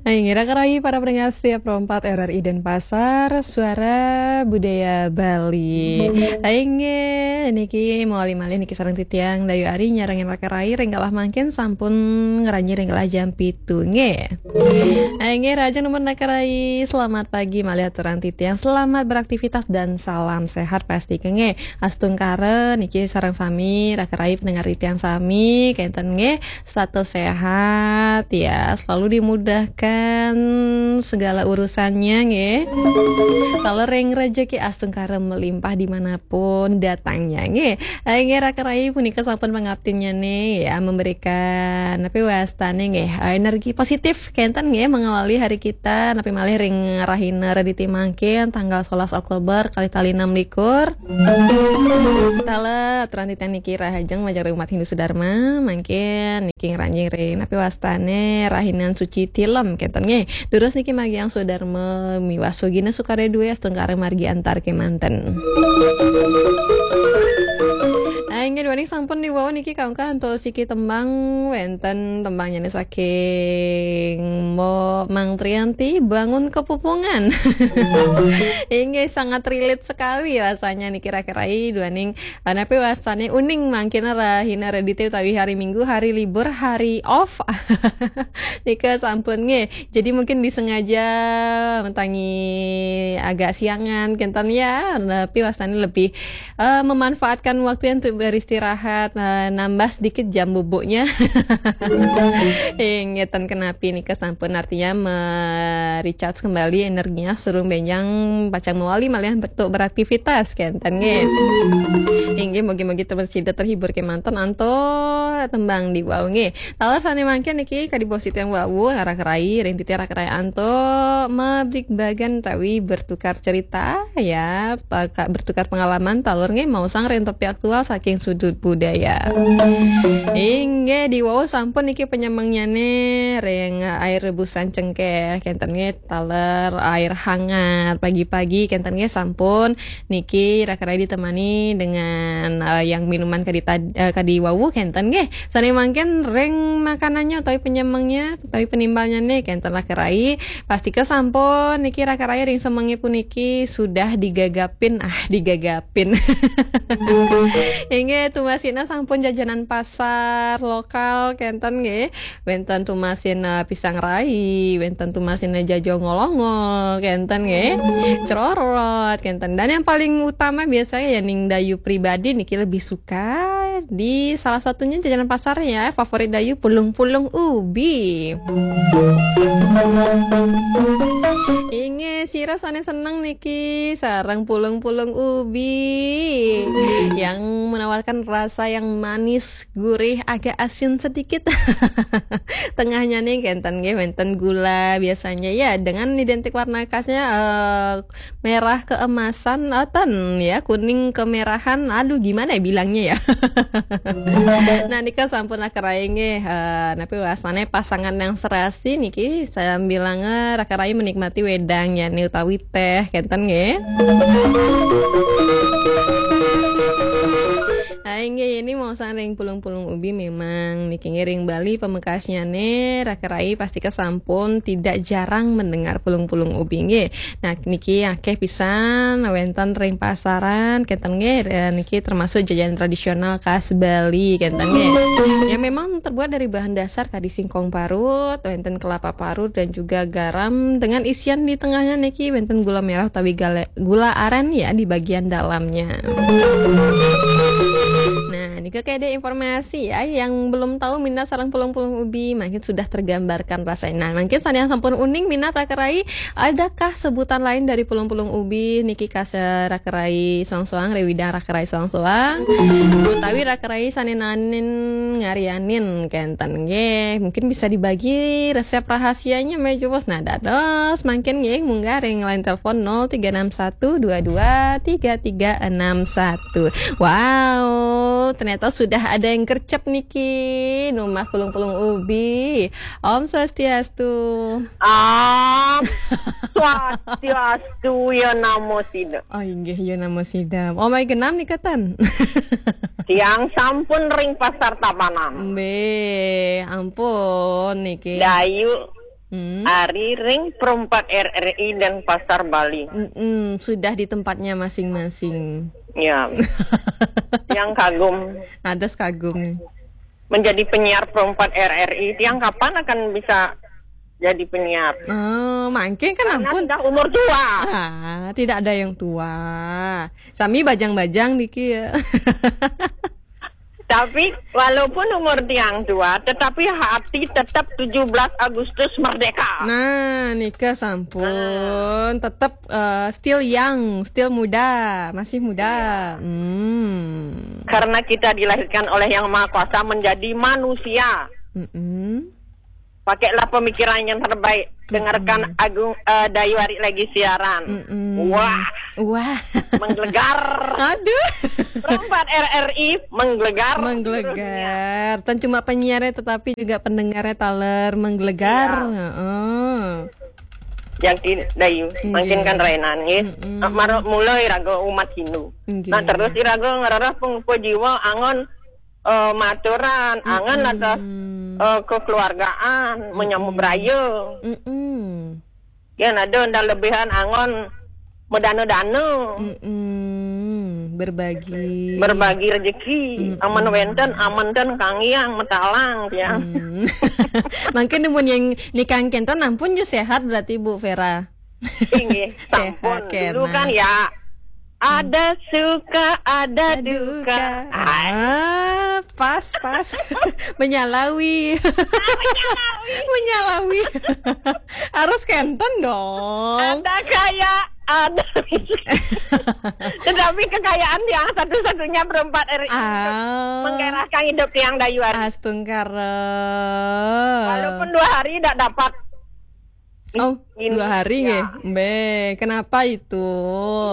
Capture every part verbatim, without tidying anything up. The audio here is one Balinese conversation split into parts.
Inggih, raka rayi para pendengar setia Pro empat R R I Denpasar, Suara Budaya Bali. Inggih, niki malih-malih niki sareng titiang Dayu Ari nyarengin raka rayi ring galah mangkin sampun ngranjing ring galah jam pitu nggih. Inggih, rahajeng nunas raka rayi, selamat pagi malih aturang titiang, selamat beraktivitas dan salam sehat pasti nggih. Astungkara niki sareng sami raka rayi pendengar titiang sami kenten nggih. Status sehat ya, selalu dimudahkan segala urusannya nggih. Taler ring rejeki astungkara melimpah dimanapun datangnya nggih. Inggih, raka rayi punika sampun pangaptinnyane ya, memberikan napi wastane nggih, energi positif kenten nggih mengawali hari kita, napi malih ring rahina Redite mangkin tanggal sebelas Oktober kalih tali enam likur. Taler, aturan titiang niki rahajeng majeng ring umat Hindu Sudarma, mangkin niki ngranjing ring napi wastane rahinan suci tilem kenten nggih. Durus niki margiang Sudarma miwah sugina sukarya duwe astungkara margi antar kemanten. Nah, inggih duaning sampun diwau niki kangkang antos siki tembang, wenten tembangnya saking Mo Mang Trianti, Bangun Kepupungan. Inggih, sangat relate sekali rasanya niki raka rayi duaning, eh, napi wastane uning mangkin rahina Redite utawi hari Minggu, hari libur, hari off. Nika sampun nggih. Jadi mungkin disengaja mentangi agak siangan kenten ya, tapi wastane lebih, eh, memanfaatkan waktu untuk beristirahat, eh, nambah sedikit jam bubuknya. Inggih, ten kenapi nika sampun artinya me-recharge kembali energinya, sareng benjang pacang mawali malih untuk beraktivitas kenten nggih. Inggih, mugi-mugi ter-, sida terhibur kemanten antos tembang diwau nggih. Taler sane mangkin niki kadi bos titiang wau, raka rayi, ring titiang raka rayi antuk mabligbagan utawi bertukar cerita ya, paka-, bertukar pengalaman taler nggih maosang ring topik aktual saking sudut budaya. Inggih, diwau sampun niki penyemengnyane ring air rebusan cengkeh kenten nggih, taler air hangat pagi-pagi kenten nggih sampun niki raka rayi ditemani dengan, eh, yang minuman kadi tad-, eh, kadi wawu kenten nggih. Sane mangkin ring makanannya utawi penyemengnya utawi penimbalnya nih kenten raka rayi. Pastika sampun niki raka rayi ring semenge puniki sudah digagapin, ah, digagapin. Inggih, tumasina sampun jajanan pasar lokal kenten nggih. Wenten tumasin, eh, pisang rai, wenten tumasin, eh, jajo ngolongol, kenten nggih. Cerorot, kenten. Dan yang paling utama biasanya ya ning Dayu pribadi niki lebih suka di salah satunya jajanan pasar ya, favorit Dayu pulung-pulung ubi. Inggih, sira sane seneng niki sareng pulung-pulung ubi yang menawarkan rasa yang manis, gurih, agak asin sedikit. Tengahnya nih kenten nggih, wenten gula biasanya ya, dengan identik warna khasnya, eh, merah keemasan, eh, ten ya, kuning kemerahan. Aduh, gimana ya bilangnya ya? Nah, nika sampun raka rayi nggih, eh, napi wastane pasangan yang serasi niki sambilanga raka rayi menikmati wedang yani utawi teh kenten nggih. Ah, inggih, ini maosang ring pulung-pulung ubi memang niki nggih ring Bali pamekasnyane raka rayi pastika sampun tidak jarang mendengar pulung-pulung ubi nggih. Nah, niki akeh pisan wenten ring pasaran kenten nggih, eh, niki termasuk jajanan tradisional khas Bali kenten nggih. Yang memang terbuat dari bahan dasar kadi singkong parut, wenten kelapa parut dan juga garam dengan isian di tengahnya niki wenten gula merah utawi gale-, gula aren ya di bagian dalamnya. Nah, niki kayak ada informasi ya, yang belum tahu minat sareng pulung-pulung ubi, mungkin sudah tergambarkan rasanya. Nah, mungkin sane yang sampun uning minat raka rayi, adakah sebutan lain dari pulung-pulung ubi niki khas raka rayi soang-soang, ring widang raka rayi soang-soang utawi raka rayi sane naenin ngaryanin kenten nggih. Mungkin bisa dibagi resep rahasianya, Mbak Jupus. Nah, dados mangkin nggih, munggah ring line telepon nol tiga enam satu dua dua tiga tiga enam satu. Wow, ternyata sudah ada yang gercep niki, nunas pulung-pulung ubi. Om Swastiastu. Om Swastiastu, ya namo sida. Oh, inggih, ya namo sida. Oh, mai genam nika ten. Tiang sampun ring Pasar Tabanan. Mbih, ampun niki. Dayu, Hmm. Ari ring Perempat R R I dan Pasar Bali. Mm-mm, sudah di tempatnya masing-masing. Ya. Yang kagum. Ada kagum. Menjadi penyiar Perempat R R I, tiang kapan akan bisa jadi penyiar? Oh, mangkin kan. Karena ampun, sudah umur tua. Ah, tidak ada yang tua. Sami bajang-bajang niki ya. Tapi walaupun umur tiang tua, tetapi hati tetap tujuh belas Agustus merdeka. Nah, nika sampun. Nah. Tetap, eh, still young, still muda, masih muda. Iya. Hmm. Karena kita dilahirkan oleh Yang Maha Kuasa menjadi manusia. Mm-mm. Pakailah pemikiran yang terbaik. Dengarkan, mm-mm, Agung, eh, Dayu Ari lagi siaran. Mm-mm. Wah. Wah. Menggelegar. Aduh. Perempat R R I menggelegar. Menggelegar. Seluruh dunia. Tan cuma penyiarnya tetapi juga pendengarnya taler menggelegar. Iya. Heeh. Jadi Dayu, nggih, mangkin kan rainan nggih. Mm-mm. Mara mula iraga umat Hindu. Nggih. Nah, terus iraga ngrereh pangupa jiwa angon, eh, maturan, angon, mm-mm, atas, eh, kekeluargaan, mm-mm, menyambut raya. Mm-mm. Yen ada ndang lebihan angon medana-dana. Mm-mm. Berbagi. Berbagi rezeki. Mm-mm. Amun wenten, amun ten kanggiang metalang, ya. Mm. Mangkin mun yang nikang kenten ampun ju sehat berarti, Bu Vera. Inggih, sehat sampun. Dulu kena. Kan ya, ada suka, ada duka. Ada duka. Ah, pas, pas. Menyalawi. Ah, menyalawi. Menyalawi. Harus kenten dong. Ada kaya, ada. Tetapi kekayaan yang satu-satunya Perempat R I untuk, ah, menggairahkan hidup yang Dayu Ari. Astungkara. Walaupun dua hari tidak dapat. Oh, gini, dua hari ya. Nggih. Mbe, kenapa itu?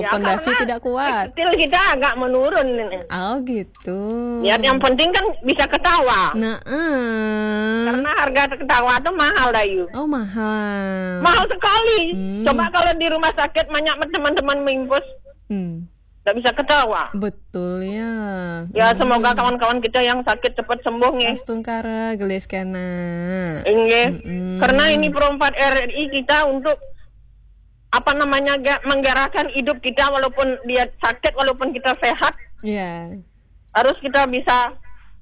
Ya, pondasi karena tidak kuat. Stil kita agak menurun ini. Oh, gitu. Ya, yang penting kan bisa ketawa. Nah, eh. Karena harga ketawa tuh mahal, Dayu. Oh, mahal. Mahal sekali. Hmm. Coba kalau di rumah sakit banyak teman-teman mimpus. Hmm. Nggak bisa ketawa. Betul ya. Ya, semoga, hmm, kawan-kawan kita yang sakit cepat sembuh, nggih. Astungkara, gelis kena. Inggih. Mm-mm. Karena ini Perempat R R I kita untuk, apa namanya, ga-, menggerakkan hidup kita walaupun dia sakit, walaupun kita sehat. Iya. Harus kita bisa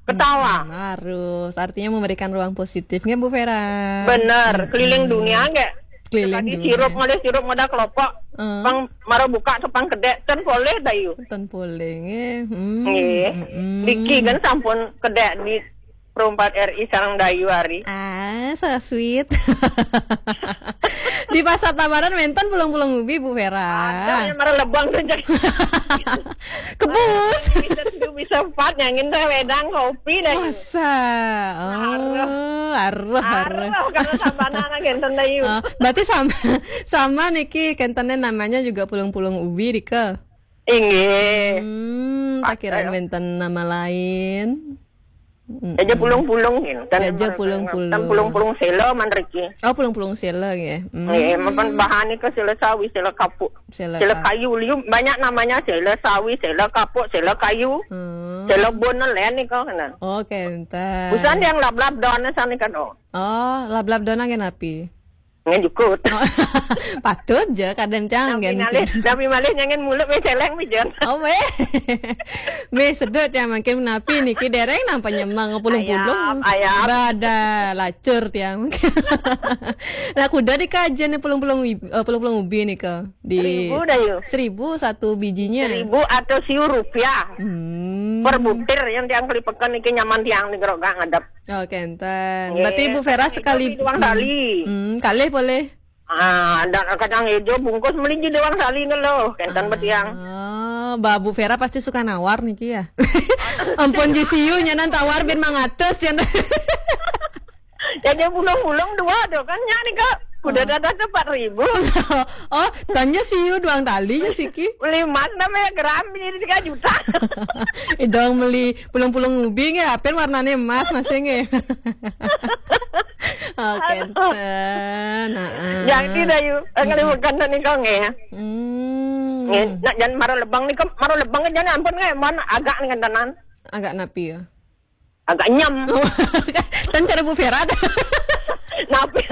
ketawa. Mm-mm, harus. Artinya memberikan ruang positif, nggih, Bu Vera? Bener. Mm-mm. Keliling dunia, nggih. Keliling dunia. Tadi sirup, mulai sirup, modal kelopak. Mm. Pang mara buka tu pang kedek, ten polih, Dayu. Ten polih, nggih. Hmm, nggih. Mm-mm. Niki kan sampun kedek di Perempat R I sareng Dayu Ari. Ah, so sweet. Di Pasar Tabanan wenten pulung-pulung ubi, Bu Vera. Ada yang mara lebang tu, jadi. Kebus. Bisa tujuh, bisa empat, nyangin teh wedang kopi dah. Masa? Oh, aruh. Aruh, aruh. Aruh, kalau sabana anak kenten, Dayu. Oh, berarti sama, sama niki kentennya namanya juga pulung-pulung ubi, Rika. Inggih. Hmm, tak kira, eh, wenten nama lain. Mm-mm. Jaja pulung-pulung, gitu. Jaja pulung-pulung. Kan pulung-pulung sela, man, riki. Oh, pulung-pulung sela, nggih. Hmm. Nggih, mapan bahan nika sela sawi, sela kapuk. Sela, sela ka- kayu, liu banyak namanya, sela sawi, sela kapuk, sela kayu. Hmm. Sela bon, len nika, kena. Oh, kenten. Busan yang lablab don sane kan, oh. Oh, lablab don nggih napi? Ngan jukut. Oh. Patut je kadang cang. Napi ngan malih, jukut. Napi malih nyangen mulut me celeng, mi jen. Oh, weh. Me sedut ya, mangkin napi niki dereng nang panyemang pulung-pulung. Ayap, ayap. Bada lacur tiang. Lah kuda di kajian ni pulung-pulung ib-, eh, pulung-pulung ubi nika. Di seribu dah, yo. Seribu satu bijinya. Seribu atau siu rupiah. Hmm. Per butir yang tiang kelipekan niki nyaman tiang ni geroga ngadep. Oh, kenten. Nggih. Berarti Bu Vera sekali, duang tali. Hmm, kalih boleh. Ah, dan kacang hijau bungkus melinci duang tali ngeluh. Kenten, ah, betiang. Ba Bu Vera pasti suka nawar niki ya. Ampun, ji siu nyanan tawar bin mangatus ya. Jaja bulung-bulung dua tu kan nyak nika. Kuda, oh, dadah tu empat ribu. Oh, tanya siu duang tali ya siki. Beli emas namanya gram ini tiga juta. Idong beli pulung-pulung ubi nggih, apen warnane emas masih nggih. Oh, kenten. Heeh. Jadi dah, yu, eh, kali bukan tadi kau nggih. Hmm. Nggih, nak jangan mara lebang ni, mara lebang jangan ampun nggih, mon agak ni kentenan. Agak napi ya? Agak nyem. Tan cara Bu Vera. Napi?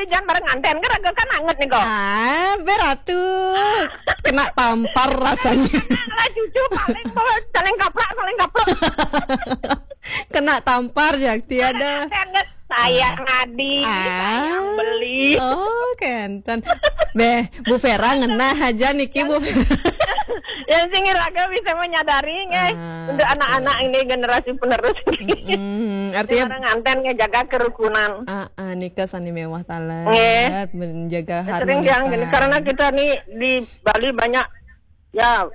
Jangan bareng nganten kan raga kan anget nih kok. Ah, beratu. Kena tampar rasanya. Lah cucu paling bawa saling kaplak, saling kaplak. Kena tampar, Jakti, ada. Kan sayang adi, Ah. Sayang beli. Oh, kenten. Beh, Bu Vera ngena aja niki, Bu Vera. Ya sing raga bisa menyadari nggih. Ah, Untuk anak-anak ini generasi penerus. Hmm, artinya Bareng nganten nggih jaga kerukunan. Ah, ah, nika sani mewah taler, Nggih. Menjaga Sering yang harmonisasi. Karena kita nih di Bali banyak ya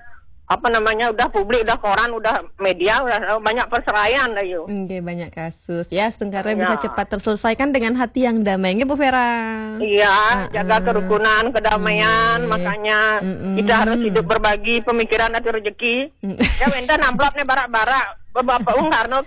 apa namanya udah publik, udah koran, udah media, udah banyak perseraian dah yuk. Nggih, banyak kasus. Ya, setengkara bisa Ya. cepat terselesaikan dengan hati yang damai. Nggih, Bu Vera. Iya, Ah, jaga ah. kerukunan, kedamaian, Nggih. Makanya Mm-mm. Kita harus hidup berbagi pemikiran atau rezeki. Mm. Ya minta amplopnya barak-barak. Bapak Bung Karno